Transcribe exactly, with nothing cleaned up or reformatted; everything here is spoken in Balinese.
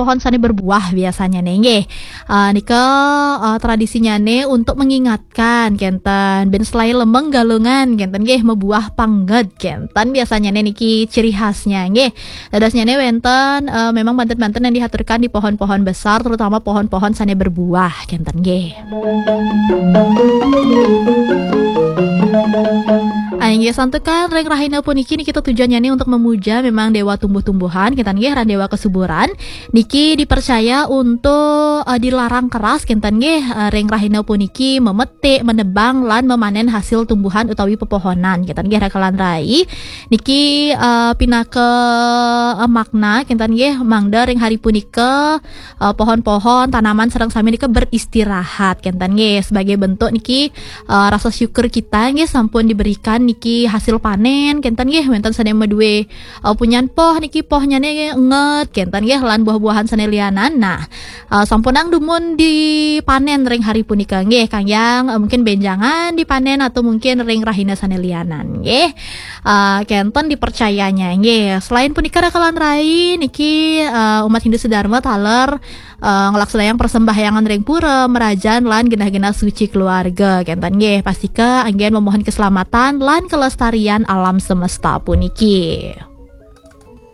pohon sané berbuah biasanya né nggih. Eh, nika eh, tradisinya né untuk mengingatkan kenten, ben selain lemeng galungan kenten nggih, mebuah panget kenten biasanya né niki ciri khasnya nggih. Dadosnya né wenten eh, memang banten-banten yang dihaturkan di pohon-pohon besar, terutama pohon-pohon sané berbuah kenten nggih. Inggih santukan ring rahina puniki niki tujuannya né untuk memuja memang dewa tumbuh-tumbuhan kenten nggih, ran dewa kesuburan. Niki dipercaya untuk eh, dilarang keras kenten nggih, eh, ring rahina puniki memetik, menebang lan memanen hasil tumbuhan utawi pepohonan kenten nggih, rakalan rai. Niki eh, pinaka eh, makna kenten nggih, mangda ring hari punika eh, pohon-pohon, tanaman sareng sami nika beristirahat kenten nggih, sebagai bentuk niki eh, rasa syukur kita nggih sampun diberikan niki hasil panen kenten nggih, wenten sané madué eh, punyan poh niki, pohnya né nget kenten nggih, lan buah-buahan sané lianan. Nah, eh, sampunang dumun dipanen ring hari punika nggih, kayang eh, mungkin benjangan dipanen atau mungkin ring rahina sané lianan nggih. Eh, kenten dipercayanya nggih. Selain punika rakalan rai niki eh, umat Hindu sedharma taler eh, nglaksanayang persembahyangan ring pura, merajan lan genah-genah suci keluarga kenten nggih. Pastika anggén memohon keselamatan lan kelestarian alam semesta puniki.